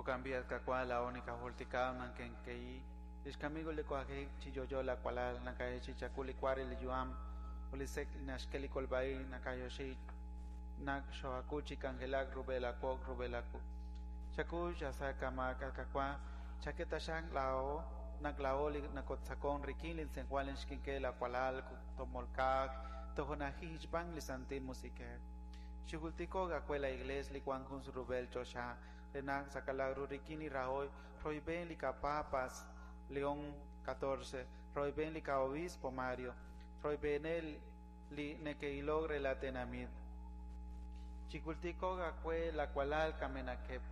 Jo'kan b'i' at Qaawa' laa'o nikajultika naq kenkei lix kamik ut li wanjik chi yo'yo laawalal nakayeechi'i chawu li wa re li yu'am ut li sek' li naxk'e li kolb'a-ib' nakayoxi naq xoohaak'ul chi k'anjelak rub'el aawoq rub'el aawu. Chaku xasa kama' at Qaawa' chak'e taxaq laa'o naq laa'o li nakotz'aqon rik'in li tz'ejwal xkik'el laawalal tomolkaaq tojo'najij xb'aan li Santil Musiq'ej. Xijultiko'q aawe la Iglees li wank jun rub'el choxa re naq saqalaq ru rik'in li rahoy royb'en li qaPapas León XIV, royb'en li qa'Obispo Mario, royb'eneb' li neke'ilok re la tenamit. Chijultiko'q aawe laawalal kamenaqeb'.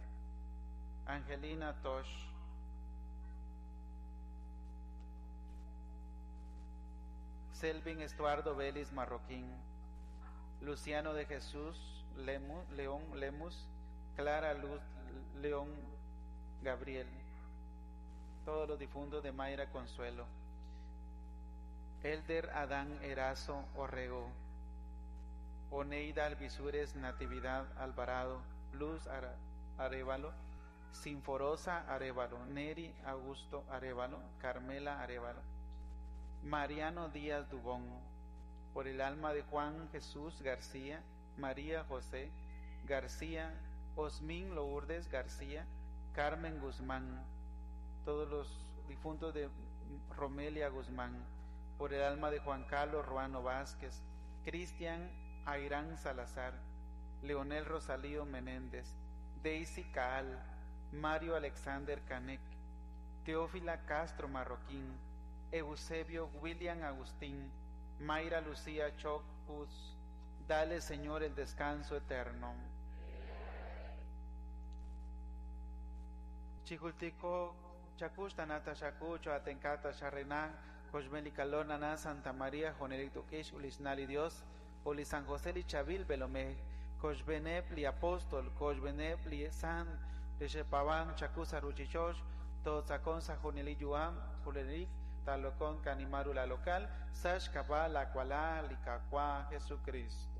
Angelina Tosh. Selvin Estuardo Vélez Marroquín, Luciano de Jesús León Lemus, Clara Luz León Gabriel, todos los difuntos de Mayra Consuelo, Elder Adán Erazo Orrego, Oneida Alvisures Natividad Alvarado, Luz Arévalo, Sinforosa Arévalo, Neri Augusto Arévalo, Carmela Arévalo, Mariano Díaz Dubón, por el alma de Juan Jesús García, María José García, Osmín Lourdes García, Carmen Guzmán, todos los difuntos de Romelia Guzmán, por el alma de Juan Carlos Ruano Vázquez, Cristian Airán Salazar, Leonel Rosalío Menéndez, Daisy Caal, Mario Alexander Canek, Teófila Castro Marroquín, Eusebio William Agustín, Mayra Lucía Chocus, dale Señor el descanso eterno. Chijultico, Chacuxtanata Xacucho, Atencata Xarrená, Coxmelikalonana, Santa María, Jonelik Tukish, Ulisnali Dios, Uli San José li Chavil Belomej, Coxbenep li Apóstol, Coxbenep li San, Lixepaban, Chacusa Ruchichosh, Totzakon Sajoneli Yuam, Julerik, Talocon Canimaru la local, Sash Kaba, la Kuala, Licacua, Jesucristo.